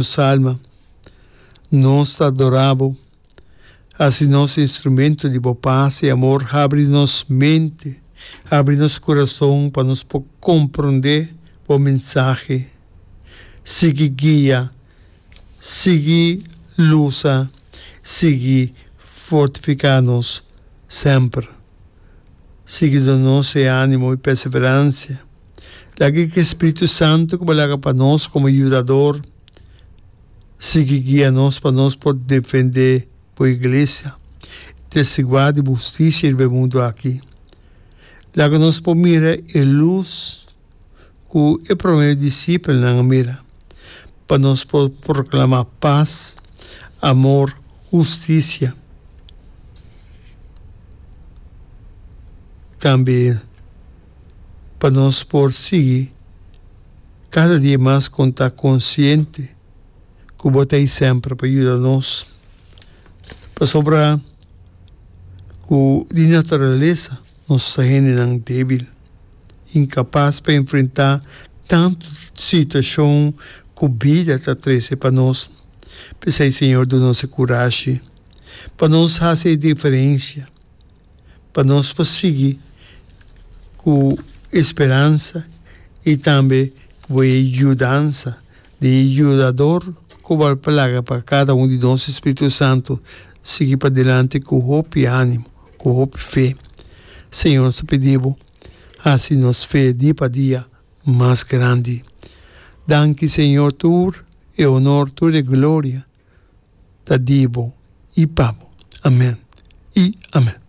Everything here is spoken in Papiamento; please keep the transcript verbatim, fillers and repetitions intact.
Nos alma. Nos ta adorá Bo. Hasi nos instrumento di Bo pas i amor. Habri nos mente, habri nos kurason pa nos por komprondé Bo mensahe. Sigui guia, sigui lusa, sigui fortifiká nos semper. Sigui duna nos e ánimo i perseveransia. Laga ku e Spiritu Santu ku bo laga pa nos komo Yudador sigui guia nos pa nos por defendé bo Iglesia i testiguá di bo hustisia riba e mundu aki. Laga nos por mira e lus ku e promé disipelnan a mira, pa nos por proklamá pas, amor, hustisia. Tambe pa nos por sigui kada dia mas kon ta konsiente ku bo ta ei semper pa yuda nos, pasobra ku di naturalesa nos ta hendenan débil, inkapas pa enfrentá tantu situashon ku bida ta trese pa nos. P'esei, Señor, duna nos e kurashi pa nos hasi e diferensia. Pa nos por sigui ku e speransa i tambe ku e yudansa di e Yudador ku bo a laga pa kada un di nos, e Spiritu Santu, sigui padilanti ku hopi ánimo, ku hopi fe. Señor, nos ta pidi bo, hasi nos fe dia pa dia mas grandi. Danki, Señor, tur e honor, tur e gloria ta di bo i pa bo. Amen i amen.